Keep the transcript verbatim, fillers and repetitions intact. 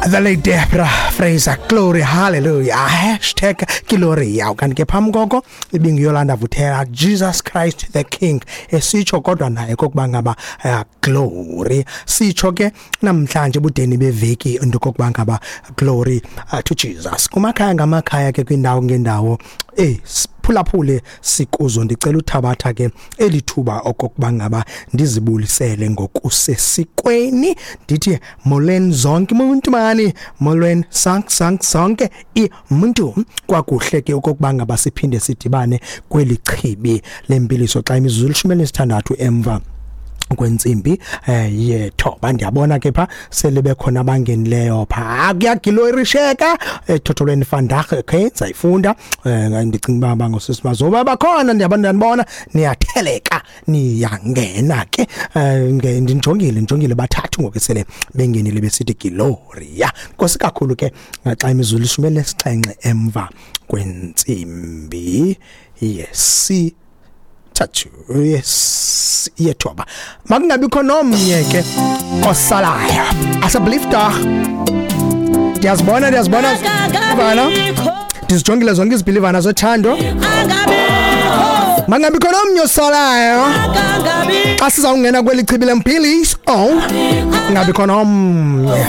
The late Deborah Fraser, glory hallelujah, hashtag Gloria. Kanti ke phambi koko ibinguYolanda Vuthela, Jesus Christ the King, esitsho kodwa naye kokuba ngaba uh, glory. Sitsho ke namhlanje budeni beveki into kokuba ngaba glory uh, to Jesus. Kumakhaya ngamakhaya ke, kwindawo ngendawo, eh phulaphule sikuzo, ndicela uthabatha ke elithuba okokuba ngaba ndizibulisele ngokusesikweni, ndithi molweni zonke umuntu mani, molweni sank sank sonke imuntu. Kwakuhle ke okokuba ngaba siphinde sidibane kweli chibi lempiliso xa imizuzu elishumi elinesithandathu emva kwentsimbi eh yethoba. Ndiyabona ke pha sele bekhona abangenileyo pha, kuyaglorisheka ethotholweni vandag. Okay, sayifunda, eh ndicinga uba bangosisi bazoba bakhona. Ndiyabona, ndiyabona niyatheleka, niyangena ke. eh ndijongile ndijongile bathathu ngoku sele bengenile besithi Gloria. Nkosi kakhulu ke xa imizuzu elishumi elinesixhenxe emva kwentsimbi yesi thathu, yes, yethoba. Makungabikho nomnye ke osalayo, asseblief tog. Ndiyazibona, ndiyazibona bana, ndizijongile zonke izibhilivana zothando. Makungabikho nomnye osalayo xa sizawungena kweli chibi lempiliso. Oh, kungabikho nomnye.